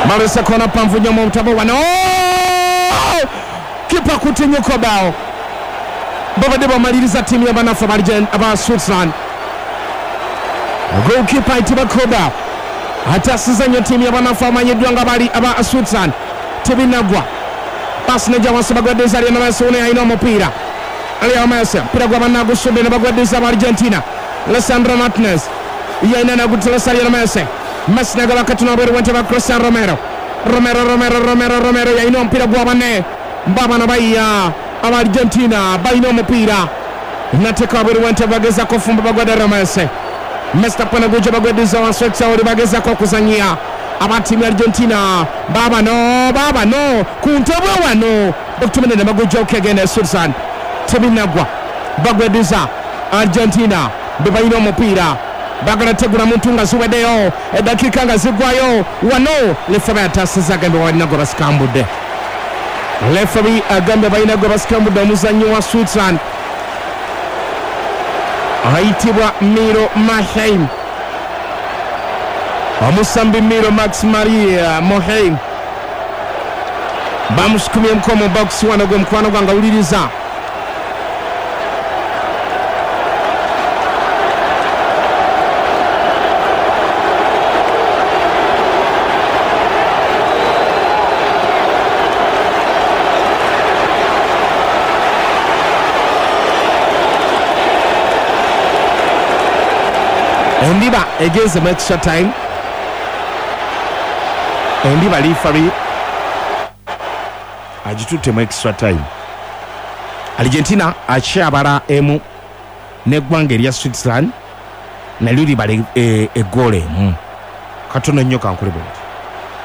Balese kona mpanvu nnyo mu butabo wano. Kipa kutinyo Kobel. Babadde bamaliriza ttiimu y'abanafu aba Switzerland. Goalkeeper ayitibwa Kobel ataasiza nnyo ttiimu y'abanafu amanyiddwa nga bali aba Switzerland. Tebinagwa. Pasi nejja wansi bagwaddiza Lionel Messi wuno yalina omupiira. Leo Messi omupiira gwa bannagusudde ne bagwaddiza aba Argentina. Lisandro Martinez yalina nagutulesa Lionel Messi. Messi nagaba katono wabweru w'entebe ya Cristian Romero. Romero, Romero, Romero, Romero yalina omupiira gwa banne. Baabano bayiya aba Argentina balina omupiira. Nateeka wabweru w'entebe bagezaako ofumba bagwadde Leo Messi. Mr Panaguja bagweddiza wansi w'ekisaawe oli bagezaako okuzannyia aba ttiimu ya Argentina. Baabano, baabano ku ntebe wano bakutumidde ne bagujja okegenda e Switzerland. Tebinnagwa bagweddiza Argentina be balina omupiira. Bagala tegula muntu nga ziweddeyo eddakiika nga ziggwayo wano leferi ataasizza agambye balina gwe basikambudde. Leferi agambye balina gwe basikambudde omuzannyi wa Switzerland ayitibwa Miro Maheim, omusambi Miro Max Maria Moheim bamusukumyemuko mu box wano gwe mukwano gwange awuliriza. Endiba egenze mu extra time. Endiba liifari agitutte mu extra time. Argentina akyabala emu n'eggwanga erya Switzerland nalyo libala eggoolo emu. Katono nnyo kankole bwenti.